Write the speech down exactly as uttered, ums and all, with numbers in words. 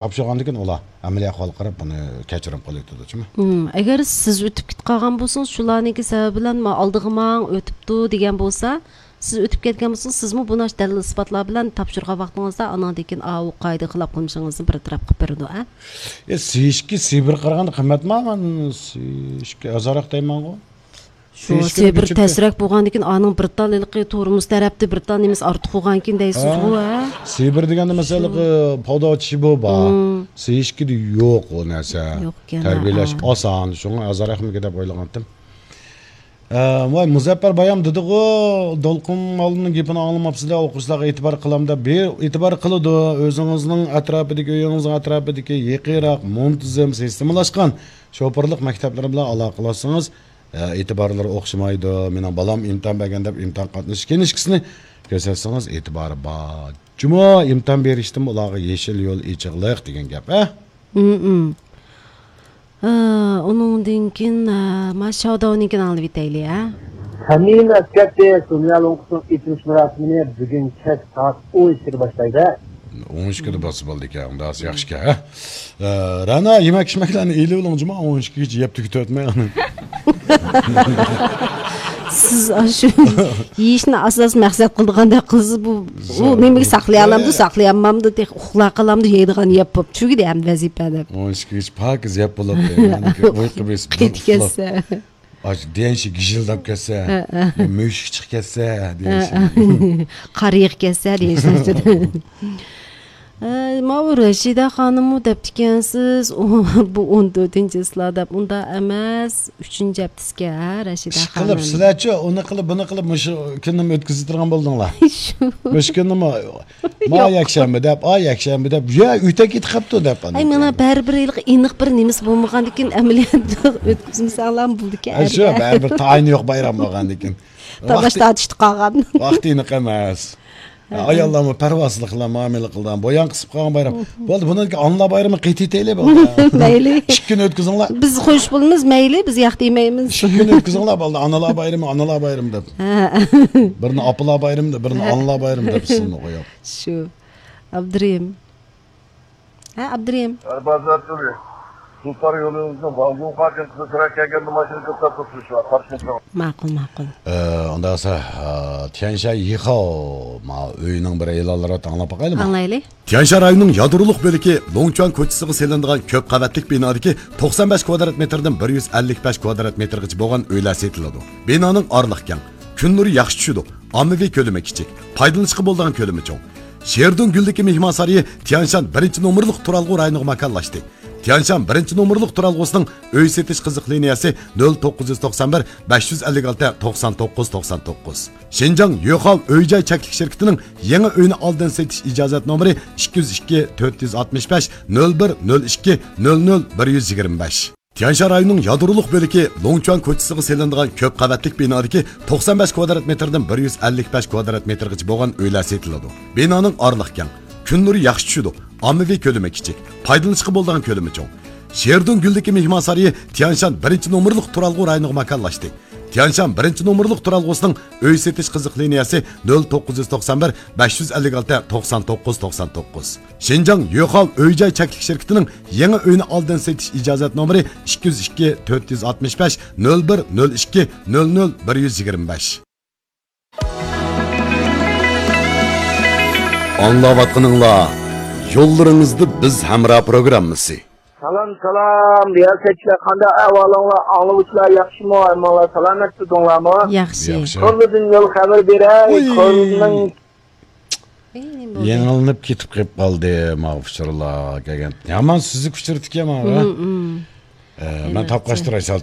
تاپشۇرغاندىن كېيىن ئۇلار ئەمەلىي ئەھۋالغا قاراپ بۇنى كەچۈرۈم قويۇۋېتىدۇ، جۇمۇ. ھىم، ئەگەر سىز ئۆتۈپ كېتىپ قالغان بولسىڭىز، شۇلارنىڭكى سەۋەبى بىلەن، ما، ئالدىغا ماڭ، ئۆتۈپتۇ دېگەن بولسا، سىز ئۆتۈپ كەتكەن بولسىڭىز، سىزمۇ بۇ ناخشا دەلىل ئىسپاتلار بىلەن تاپشۇرغان ۋاقتىڭىزدا، ئانىڭدىن كېيىن ئاۋۇ قائىدە خىلاپ قىلمىشىڭىزنى بىر تەرەپ قىلىپ بېرىدۇ، ھە؟ ئە، سى ئىككى سىبىرغا قارىغاندا قىممەتمۇ؟ مانا سى ئىككى ئازراق دەيمەنغۇ. شۇ سى ئىككى سىبىر تەسرەك بولغاندىكىن، ئانىڭ بىر تال ھېلىقى تورمۇز تەرەپتە بىر تال نېمىسى ئارتۇق بولغانكىن دەيسىزغۇ، ھە؟ سىبىر دېگەندە، مەسىلەن، شۇ. پادا چىشى بۇ بار. مم. سى ئىككىدە يوق ئۇ نەرسە. يوقكەن، تەربىيەلەش ھە. ئاسان، شۇڭا ئازراقمىكىن دەپ ئويلىغانتىم. ئە، ۋاي، مۇزەپپەر بايام دېدىغۇ، دولقۇن مۇئەللىمنىڭ گېپىنى ئاڭلىماپسىلەر، ئوقۇغۇچىلارغا ئېتىبار قىلامدا، بىر ئېتىبار قىلىدۇ. ئۆزىڭىزنىڭ ئەتراپىدىكى، ئۆيىڭىزنىڭ ئەتراپىدىكى يېقىنراق، مۇنتىزىم، سىستېمىلاشقان شوپۇرلۇق مەكتەپلىرى بىلەن ئالاقىلاشسىڭىز، ئە، ئېتىبارلىرى ئوخشىمايدۇ. مېنىڭ بالام ئىمتىھان بەرگەن دەپ ئىمتىھان قاتنىشىش كىنىشكىسىنى كۆرسەتسىڭىز ئېتىبارى بار. جۇمۇ ئىمتىھان بېرىشتىمۇ ئۇلارغا يېشىل يول ئېچىقلىق دېگەن گەپ، ھە؟ ھىم، ھىم. ئە، ئۇنىڭدىن كېيىن، ئە، ما شاۋداۋنىڭكىنى ئاڭلىۋېتەيلى، ھە؟ ھەممىنى ئەسكەرتتى. سونيا لوڭقىسىنىڭ ئېچىلىش مۇراسىمىنى بۈگۈن كەچ سائەت ئون ئىككىدە باشلايلى. ئون ئىككىدە بولسا بولىدىكەن، ئۇنداق ياخشىكەن، ھە؟ ئە، رەنا، يېمەك ئىچمەكلەرنى ئېلىۋېلىڭ، جۇمۇ، ئون ئىككىگىچە يەپ تۈگىتىۋەتمەي. سىز ئاشۇ يېيىشنى ئاساس مەقسەت قىلىدىغاندەك قىلسىز، بۇ، ئۇ نېمىگە ساقلىيالامدۇ، ساقلىيالمامدۇ، تېخى ئۇخلاپ قالامدۇ، يەيدىغان يەپ بوپتۇ، چۈگىدى ھەم ۋەزىپە دەپ. ئون ئىككىگىچە پاكىز يەپ بولۇپتۇ. ئۇيقۇ بېسىپ، قېتىپ كەتسە. ئاشۇ دېيەنشى گىژىلداپ كەتسە، ھە، ھە. مۈشۈك چىقىپ كەتسە، ھە، دېيەنشى. ھە. قارىيىغا كەتسە، دېيەنشى. ئە، ماۋۇ رەشىدە خانىممۇ دەپتىكەنسىز، ئۇ، بۇ ئون تۆتىنچى چىسلا دەپ، ئۇنداق ئەمەس، ئۈچىنچى ھەپتىسىكەن، ھە، رەشىدە خانىم. ئىشقىلىپ، سىلەرچۇ ئۇنى قىلىپ، بۇنى قىلىپ، مۇشۇ كۈننىمۇ ئۆتكۈزۈپ تۇرغان بولدۇڭلار. شۇ. مۇشۇ كۈننىمۇ، ما يەكشەنبە دەپ، ئا يەكشەنبە دەپ، يا ئۆتە كېتىپ قاپتۇ دەپ. ئاي، مانا بەرىبىر ھېلىقى ئېنىق بىر نېمىسى بولمىغاندىكىن، ئەمەلىيەتتە ئۆتكۈزمىسەڭلارمۇ بولىدىكەن، ھە، شۇ، ئەلبەتتە. بەرىبىر تايىنى يوق بايرام بولغاندىكىن. تالاش تارتىشتا قالغان. ۋاقتى ئېنىق ئەمەس. ھە. ئاياللارمۇ پەرۋاسىزلىق بىلەن مۇئامىلە قىلىدىغان، بويان قىسىپ قالغان بايرام. بولدى، بۇنىڭكى ئانىلار بايرىمى قېتىۋېتەيلى، بولدى. مەيلى. ئىككى كۈن ئۆتكۈزۈڭلار. بىز خوش بولىمىز، مەيلى، بىز ياق دېمەيمىز. ئىككى كۈن ئۆتكۈزۈڭلار، بولدى، ئانىلار بايرىمى، ئانىلار بايرىمى دەپ. ھە. بىرىنى ئاپىلار بايرىمى دەپ، بىرىنى ھە. ئانىلار بايرىمى دەپ، سىزنى قويۇپ. شۇ. ئابدۇرېھىم. ھە، ئابدۇرېھىم. ئەربازات يولى. سۇلتان يولىمىزنىڭ ۋاڭجۇڭخۇا كەنتىدە سىرە كەلگەندە ماشىنا توختاپ تۇرۇپسىز شۇ قارشىمىزغا. ماقۇل، ماقۇل. ئە، ئۇنداق بولسا، ئە، تيەنشان يىخاۋ، ما، ئۆينىڭ بىر ئېلانلىرى ئاڭلاپ باقايلىمۇ؟ ئاڭلايلى. تيەنشان رايونىنىڭ يادرولۇق بۆلىكى لوڭچۈەن كوچىسىغا سېلىنىدىغان كۆپ قەۋەتلىك بىنادىكى توقسان بەش كۋادرات مېتىردىن بىر يۈز ئەللىك بەش كۋادرات مېتىرغىچە بولغان ئۆيلەر سېتىلىدۇ. بىنانىڭ ئارىلىقى كەڭ، كۈن نۇرى ياخشى چۈشىدۇ، ئاممىۋى كۆلىمى كىچىك، پايدىلىنىشقا بولىدىغان كۆلىمى چوڭ. شېردۇڭ گۈلدىكى مېھمانسارىيى تيەنشان بىرىنچى نومۇرلۇق تۇرالغۇ رايونىغا ماكانلاشتى. تيەنشان بىرىنچى نومۇرلۇق تۇرالغۇسىنىڭ ئۆي سېتىش قىزىق لىنىيەسى نۆل توققۇز يۈز توقسان بىر، بەش يۈز ئەللىك ئالتە، توقسان توققۇز، توقسان توققۇز. شىنجاڭ يۆخاۋ ئۆي جاي چەكلىك شىركىتىنىڭ يېڭى ئۆينى ئالدىن سېتىش ئىجازەت نومۇرى ئىككى يۈز ئىككى، تۆت يۈز ئاتمىش بەش، نۆل بىر، نۆل ئىككى، نۆل نۆل، بىر يۈز يىگىرمە بەش. تيەنشان رايونىنىڭ يادرولۇق بۆلىكى لوڭچۈەن كوچىسىغا سېلىنىدىغان كۆپ قەۋەتلىك بىنادىكى توقسان بەش كۋادرات مېتىردىن بىر يۈز ئەللىك بەش كۋادرات مېتىرغىچە بولغان ئۆيلەر سېتىلىدۇ. بىنانىڭ ئارىلىقى كەڭ، كۈن نۇرى ياخشى چۈشىدۇ، ئاممىۋى كۆلىمى كىچىك، پايدىلىنىشقا بولىدىغان كۆلىمى چوڭ. شېردۇڭ گۈلدىكى مېھمانسارىيى تيەنشان بىرىنچى نومۇرلۇق تۇرالغۇ رايونىغا ماكانلاشتى. تيەنشان بىرىنچى نومۇرلۇق تۇرالغۇسىنىڭ ئۆي سېتىش قىزىق لىنىيەسى نۆل توققۇز يۈز توقسان بىر، بەش يۈز ئەللىك ئالتە، توقسان توققۇز، توقسان توققۇز. شىنجاڭ يۆخاۋ ئۆي جاي چەكلىك شىركىتىنىڭ يېڭى ئۆينى ئالدىن سېتىش ئىجازەت نومۇرى ئىككى يۈز ئىككى، تۆت يۈز ئاتمىش بەش، نۆل بىر، نۆل ئىككى، نۆل نۆل، بىر يۈز يىگىرمە بەش. ئاڭلاۋاتقىنىڭلار يوللىرىڭىزدا بىز ھەمراھ پروگراممىسى. سالام، سالام، رىياسەتچىلەر، قانداق ئەھۋالىڭلار؟ ئاڭلىغۇچىلار ياخشىمۇ؟ ھەممىڭلار سالامەتتە تۇرۇڭلارمۇ؟ ياخشى. ياخشى. كورلىدىن يول خەۋىرى بېرەي. ۋۇي. كورلىنىڭ ئەي، نېمە بولدى؟ يېڭىلىنىپ كېتىپ قېلىپ قالدى، ماۋۇ ئۇچۇرلار كەلگەن. يامان سۈزۈك ئۇچۇر ئىكەن ماۋۇ، ھە؟ مم، مم. ئە، مەن ئەلۋەتتە. تاپقاچتۇراي، سەل